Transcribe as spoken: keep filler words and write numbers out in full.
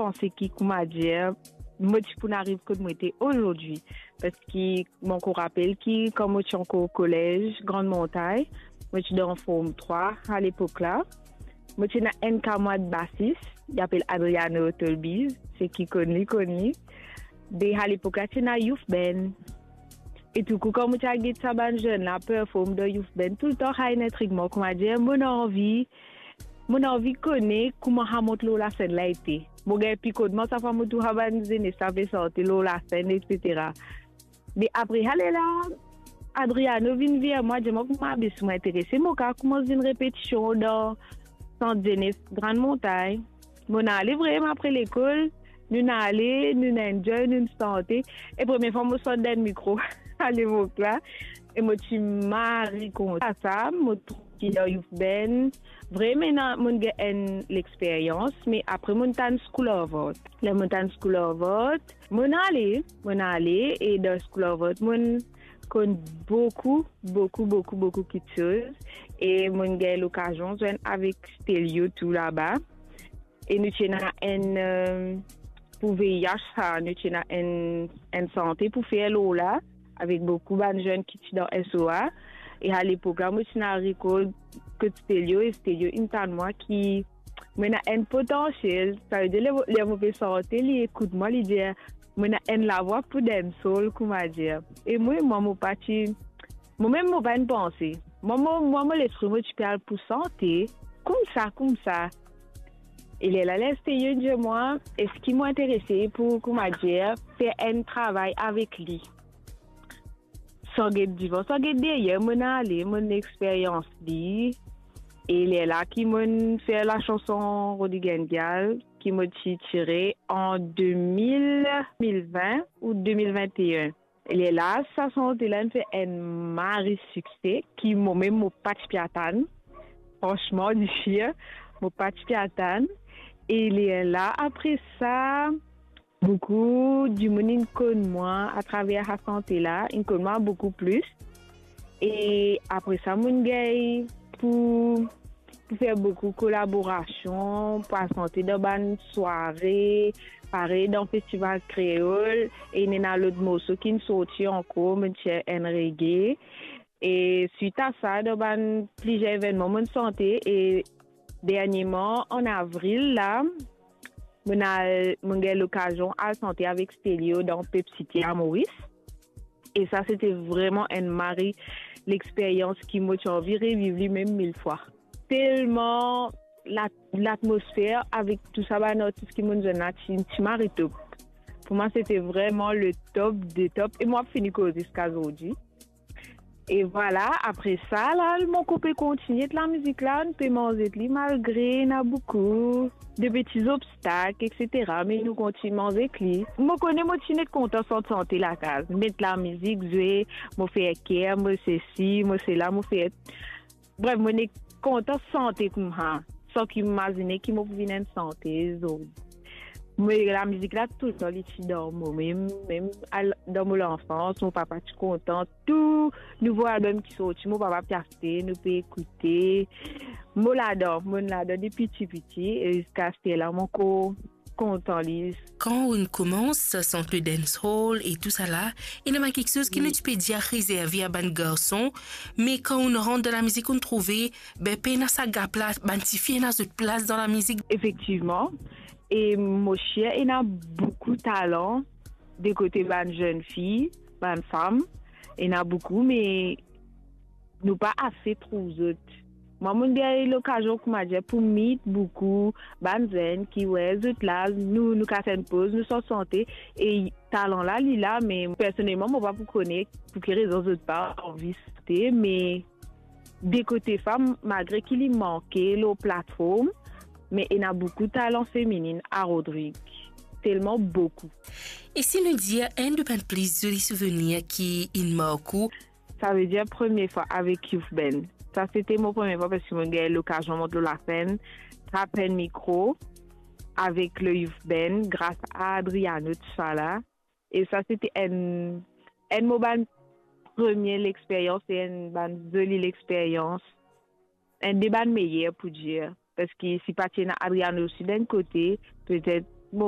panse ki, kouma dir, mo ti pou ariv kot mo ete azordi. Parski mo ankor rapel ki kan mo ti ankor kolez Grande Montagne, mo ti dan Form trwa alepok la. Mo ti ena enn kamarad basis, li apel Adriano Tolbiz, seki konn li, konn li. De alepok la, ti ena youth band. E touletan, kan mo ti al get sa bann zenn la perform dan youth band, touletan sa inn intrig mwa, kouma dir, mo ena anvi, mo ena anvi kone kouma sa mont lor lasenn la ete. Mo gagn pikotman, sa fwa mo trouv sa bann zenes la pe sante lor lasenn, etsetera. Me apre sa lerla, Adriano vinn ver mwa, dir mwa kouma be si mo interese, mo kav koumans vinn repetision dan sant zenes Grande Montagne. Mo inn ale vremem apre lekol, nou inn ale, nou inn enjoy, nou inn sante. E premie fwa mo sot dan mikro alepok la, e mo ti mari kontan sa, mo trouv ki dan youth band, vremem ena, mo gagn enn lexperyans, me apre mo tann School of Art. Ler mo tann School of Art, mo ale, mo ale, e dan School of Art, mo konn boukou, boukou, boukou, boukou kiksoz. E mo gagn lokazion zwenn avek Stelio tou laba. E nou ti ena enn, eh, pou V I H sa, nou ti ena enn, enn sante pou fer lor la, avek boukou bann zenn ki ti dan S O A. E alepok la, mo ti ena rekord kot Stelio, e Stelio inn tann mwa ki mo ena enn potansiel. Savedir, ler, ler mo pe sante, li ekout mwa, li dir, mo ena enn lavwa pou dancehall, kouma dir. E mwa, mwa, mo pa ti, momem mo pa inn panse. Mwa, mo, mwa, mo lespri mo ti pe al pou sante, koumsa, koumsa. E lerla, ler Stelio dir mwa, eski mo interese pou, kouma dir, fer enn travay avek li? San get divan, san get deryer, mo inn ale, mo inn experyans li. E lerla ki mo inn fer lasanson Rodrigue and Gal, ki mo ti tire an de mil, de mil vin ou de mil vin e enn. E lerla, sa sante la inn fer enn mari sikse, ki momem mo pa ti pe atann. Fransman, dife, mo pa ti pe atann. E lerla, apre sa, boukou dimoun inn konn mwa atraver sa sante la, inn konn mwa boukou plis. E apre sa, mo inn gagn pou, pou fer boukou kolaborasion, pou al sante dan bann sware, parey dan Festival Kreol, e ena lot morso ki inn sorti ankor, mo ti fer enn reggae. E swit a sa, dan bann plizier evennman mo inn sante, e derniereman, an avril la, mo inn al, mo inn gagn lokazion al sante avek Stelio dan Pep City a Moris. E sa, sete vremem enn mari lexperyans ki mo ti anvi reviv li mem mil fwa. Telman la, latmosfer avek tou sa bann artis ki mo inn zwenn la ti, ti mari top. Pou mwa, sete vremem le top de top. E mo ap fini koz ziska zordi. E vwala, apre sa, la, mo koup e kontigne ek lamizik la, nou pe manz ek li, malgre ena boukou de peti zobstak, etsetera, me nou kontign manz ek li. Mo kone mo ti net kontan sant sante lakaz, met lamizik, zwe, mo fer ker, mo sesi, mo sela, mo fer, bref, mo net kontan sante koumsa, san ki mo imazine ki mo pou vinn enn santezo. Me lamizik la, toultan li ti dan mo, mem, mem al, dan mo lanfans, mo papa ti kontan tou nouvo album ki sorti, mo papa pe aste, nou pe ekoute. Mo ladan, mo ladan depi piti piti, e ziska aster la, mo ankor kontan li. Kan ou'nn koumans sant le dancehall e tou sa la, ena bann kiksoz ki nou ti pe dir rezerve a bann garson, me kan ou'nn rant dan lamizik, ou'nn trouve, be, pena sa gap la, bann tifi ena zot plas dan lamizik. Efektivman, e mo sir ena boukou talan de kote bann zenn fi, bann fam, ena boukou, me nou pa ase trouv zot. Mwa, mo'nn gagn lokazion, kouma dir, pou meet boukou bann zenn ki, we, zot la, nou, nou kas enn poz, nou sant sante, e talan la, li la, me personelman, mo pa pou kone pou ki rezon zot pa anvi sante, me de kote fam, malgre ki li manke lor platform, me ena boukou talan feminin a Rodrig. Telman boukou. E si nou dir enn de bann pli zoli souvenir ki inn mark ou? Savedir premie fwa avek youth band. Sa sete mo premie fwa, parski mo gagn lokazion mont lor lasenn, trap enn mikro avek le youth band gras a Adriano, tousala. E sa sete enn, enn mo bann premie lexperyans e enn bann zoli lexperyans. Enn de bann meyer, pou dir. Parski si pa ti ena Adriano osi dan enn kote, petet